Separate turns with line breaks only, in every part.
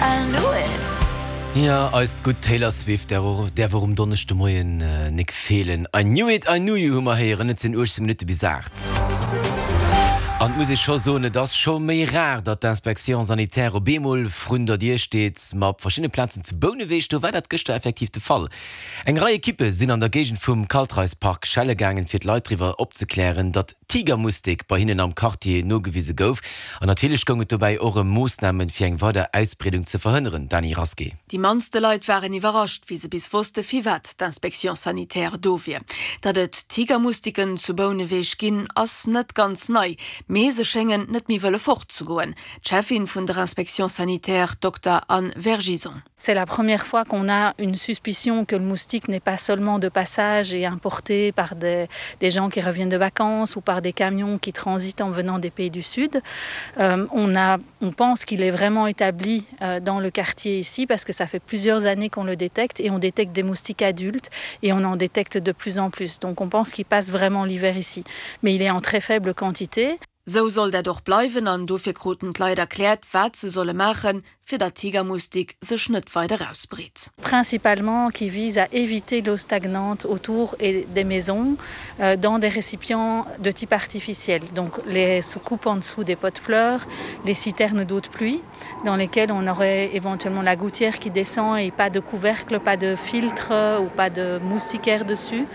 I knew it.
Jo, eist gutt Taylor Swift däerf och um Donneschde Moien nik feelen. I knew it, I knew you hu mer héieren. Et sinn 18 Minutte bis 8. An et muss ee scho soen, et ass scho méi rar, datt d'Inspection sanitaire op eemol vrun der Dier steet. Ma op verschiddene Plazen zu Bouneweg, do war dat gëschter effektiv de Fall. Eng Rei Ekippe sinn an der Géigend vum Kaltreispark schelle gaangen, fir d'Leit driwwer opzeklären, datt Tigermustik bei hinnen am Quartier nogewise gouf. An natierlech goung et dobäi och ëm Moossnamen, fir eng weider Ausbreedung ze verhënneren. Dany Rasqué.
Déi mannste Leit waren iwwerrascht, wéi se bis wosste firwat d'Inspection sanitaire do wier. Datt et Tigermustiken zu Bouneweg ginn, ass net ganz nei, mee se schéngen net méi wëlle fortzegoen. D'Cheffin vun der Inspection sanitaire, Dokter Anne Vergison.
C'est la première fois qu'on a une suspicion que le moustique n'est pas seulement de passage et importé par des, des gens qui reviennent de vacances ou par des camions qui transitent en venant des pays du sud. Euh, on, a, on pense qu'il est vraiment établi euh, dans le quartier ici parce que ça fait plusieurs années qu'on le détecte et on détecte des moustiques adultes et on en détecte de plus en plus. Donc on pense qu'il passe vraiment l'hiver ici. Mais il est en très faible quantité.
Sou soll dat och bleiwen an dofir kruten d'Leit erkläert, wat se solle maachen, fir datt d'Tigermustik sech net weider ausbreet.
Principalement qui vise à éviter l'eau stagnante autour et des maisons dans des récipients de type artificiel, donc les soucoupes en dessous des pots de fleurs, les citernes d'eau de pluie dans lesquelles on aurait éventuellement la gouttière qui descend et pas de couvercle, pas de filtre ou pas de moustiquaire dessus.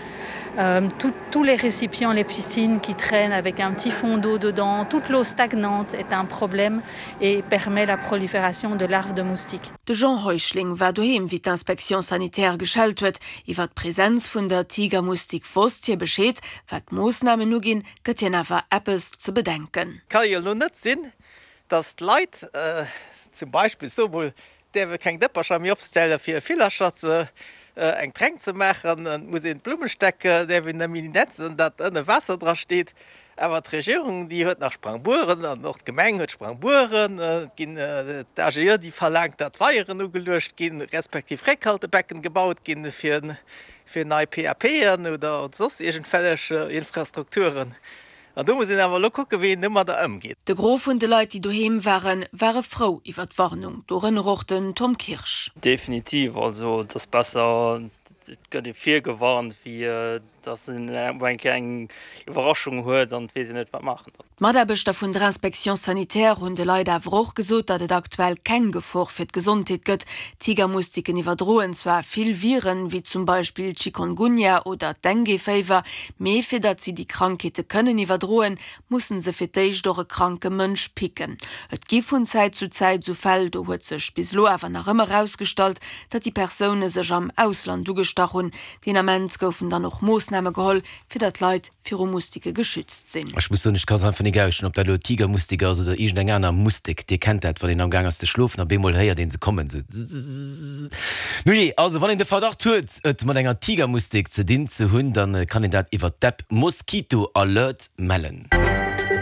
Euh, tout, tous les récipients, les piscines qui traînent avec un petit fond d'eau dedans, toute l'eau stagnante est un problème et permet la prolifération de larves de moustiques.
De Jean Heuschling war doheem, wéi d'Inspection sanitaire geschellt huet. Iwwer d'Presenz vun der Tigermustik wosst hie Bescheed. Wat d'Moossnamen uginn, gëtt hien awer eppes ze bedenken.
Ka jo elo net sinn, dass d'Leit zum Beispill, ech soe mol, däerfe keng Dëppercher méi opstelle fir Villercher ze eng Tränk ze maachen, et muss een d'Blummesteck däerf een net méi netzen, dat ënne Waasser dra steet. Awer d'Regierung, déi huet nach Sprangbueren an och d'Gemeng huet Sprangbueren. Et ginn d'AGE, déi verlaangt, datt Weieren ugeluecht ginn, respektiv Réckhaltebecken gebaut ginn fir fir nei PAPen oder soss iergendwellech Infrastrukturen. An do muss een awer elo kucken, wéi een domadder ëmgeet.
De Gros vun de Leit, déi doheem waren, ware frou iwwer d'Warnung, dorënner och den Tom Kirsch.
Definitiv, also et ass besser et gëtt ee virgewarnt, wéi datt een op eng Kéier eng Iwwerraschung huet an et weess een net wat maachen
dann. D'Mataarbechter vun der Inspection sanitaire hunn de Leit awer och gesot, datt et aktuell keng Gefor fir d'Gesondheet gëtt. Tigermustiken iwwerdroen zwar vill Viren, wéi zum Beispill Chikungunya oder Dengue-Féiwer, mee fir datt si déi Krankheete kënnen iwwerdroen, mussen se fir d'éischt och e kranke Mënsch picken. Et gi vun Zäit zu Zäit esou Fäll, do huet sech bis elo awer nach ëmmer erausgestallt, datt déi Persoune sech am Ausland ugestach hunn. Deen Ament goufen dann och Moossname geholl, fir datt d'Leit viru Mustike geschützt sinn.
Ech muss soen, ech ka se einfach nik ausstinn, ob dat elo Tigermustik ass oder iergend eng aner Mustik. Dir kennt dat, wann een am Gaang ass ze schlofen, op eemol héiert een se kommen, sou zzzzzz. Nujee, also wann een de Verdacht huet, et mat enger Tigermustik ze dinn ze hunn, dann kann een dat iwwert d'App Mosquito Alert mellen.